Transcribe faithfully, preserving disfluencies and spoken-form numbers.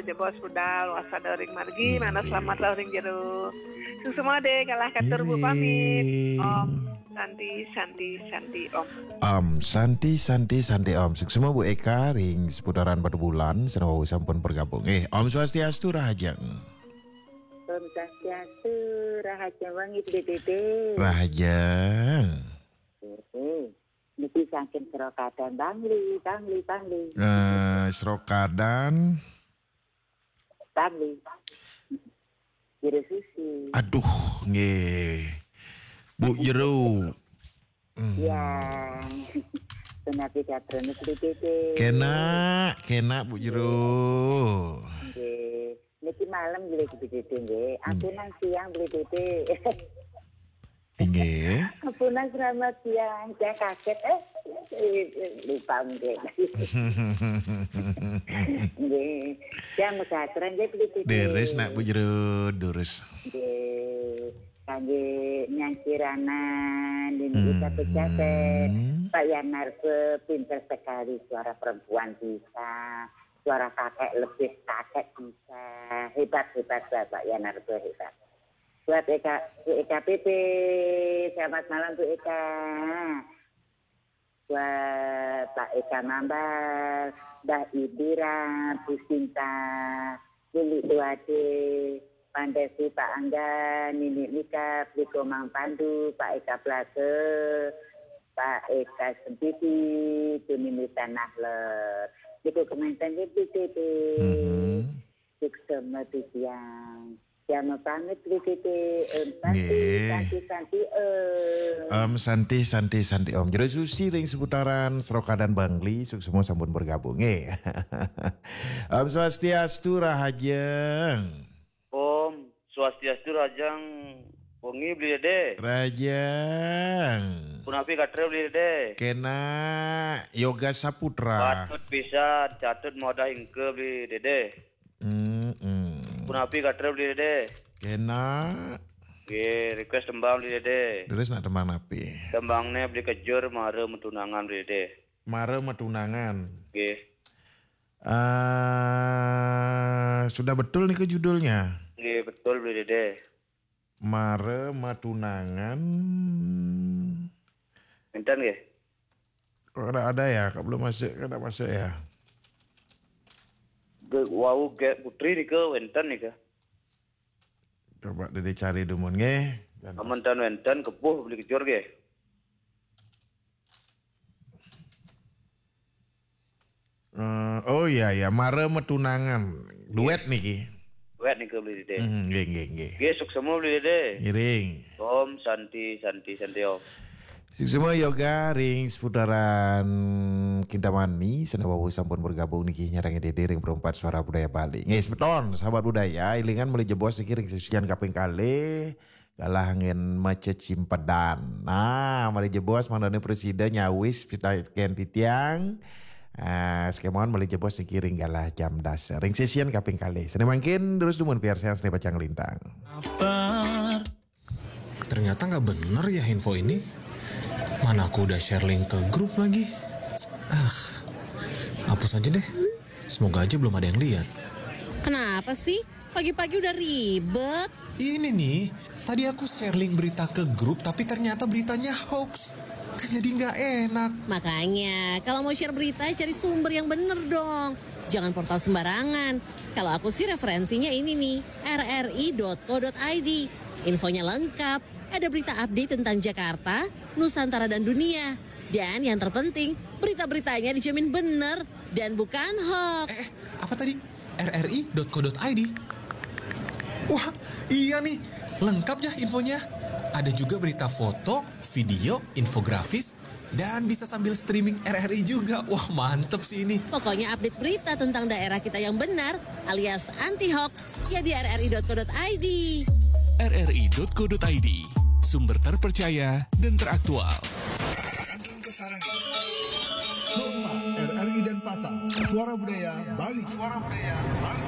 Jebos budal, waspada ring margi, mana selamat lah ring jero. Suksma deh, galah katur Bu pamit. Om Santi, Santi, Santi, Om. Om Santi, Santi, Santi, Om. Suksma Bu Eka ring seputaran Batubulan, sinawu sampun bergabung. Eh, Om Swastiastu, Rahajeng. Om Swastiastu, Rahajeng wangi, Dede. Rahajeng. Heeh. Niki saking Srokadan, Bangli, Bangli, Bangli. Eh, Srokadan. Bangli. Jero Susi. Aduh, nggih. Bu Jero. Hmm. Ya. Punapi gatra, Dede? Kenak, kenak, Bu Jero. Nggih. Niki malem, nggih, Dede, nggih. Hmm. Ampunang siang, nggih, Dede. Inggih. Ampunang, selamat siang. Saya kaget, eh, eh, eh, lupa mungkin. Nggih. Saya mesatren, nggih, Dede. Deres, nak, Bu Jero, durus. Nggih. Kangge Nyang Kirana, Nini Ika Pejaten, Pak Yanarbe, pinter sekali suara perempuan bisa, suara kakek lebih kakek bisa. Hebat, hebat, Bapak Yanarbe, hebat. Buat Eka, Bu Eka P P, selamat malam, Bu Eka. Buat Pak Eka Mambal, Mbah Idira, Bu Sinta, Lili Tuade, Pandesi, Pak Angga, Nini Nika, Bliko Mang Pandu, Pak Eka Blase, Pak Eka Sempiti, Tunini Tanah Ler. Niku kemanten nggih, Bu Titi. Mhm. Suksma titiang. Jam pamit, Bu Titi. Om Santi, nggih. Santi, Santi, Om. Om Santi, Santi, Santi, Om. Jero Susi ring seputaran Srokadan, Bangli, suksma sampun bergabung. Nggih. Om Swastiastu, Rahajeng. Om Swastiastu, Rahajeng wengi, Beli Dede. Rahajeng. Punapi gatra, Beli Dede? Kenak, Yoga Saputra. Patut pisan, catut modah ingke, Beli Dede. Mm-mm. Punapi gatra, Beli Dede? Kenak. Nggih, request tembang, Beli Dede. Terus nak tembang napi? Tembangnya Beli Kejur, Mara Matunangan, Beli Dede. Mara Matunangan. Nggih. Ah, sudah betul nih ke judulnya? Nggih, betul, Beli Dede. Mara Matunangan. Enten nggih? Kok ada, ada ya? Kok belum masuk? Kok ndak masuk ya? Ge-, wau Gek Putri nika wenten nika. Coba Dede cari dumun nggih. Amun ten wenten, kepuh Beli Kejur nggih. Eh, oh iya, iya, Mara Matunangan. Duet niki. Duet nika, Beli Dede. Hmm, nggih, nggih, nggih. Nggih, suksma, Beli Dede. Ngiring. Om Santi, Santi, Santi, Om. Suksma Yoga ring seputaran Kintamani, sinawu sampun bergabung niki nyarengin Dede ring Perempat Suara Budaya Bali. Nggih, semeton, sahabat budaya, ilingan malih jebos niki ring sesian kaping kalih. Galah anggen macecimpedan. Nah, malih jebos mangdane prasida nyawis pitaken titiang. Ah, sekemawon malih jebos niki ring galah jam dasa. Ring sesian kaping kalih. Sane mangkin terus dumun piarsayang sane pacang lintang. Ternyata nggak bener ya info ini. Mana aku udah share link ke grup lagi. Ah, hapus aja deh. Semoga aja belum ada yang lihat. Kenapa sih? Pagi-pagi udah ribet. Ini nih, tadi aku share link berita ke grup, tapi ternyata beritanya hoax. Kan jadi nggak enak. Makanya, kalau mau share berita, cari sumber yang bener dong. Jangan portal sembarangan. Kalau aku sih referensinya ini nih, R R I dot co dot I D. Infonya lengkap, ada berita update tentang Jakarta, Nusantara dan dunia. Dan yang terpenting, berita-beritanya dijamin bener dan bukan hoax. Eh, eh, apa tadi? R R I dot co dot I D. Wah, iya nih, lengkap ya infonya. Ada juga berita foto, video, infografis, dan bisa sambil streaming R R I juga. Wah, mantep sih ini. Pokoknya update berita tentang daerah kita yang benar alias anti hoax ya di R R I dot co dot I D. R R I dot co dot I D, sumber terpercaya dan teraktual. Kantun Kesarangan. Hormat, R R I Denpasar, Suara Budaya Bali. Suara Budaya Bali.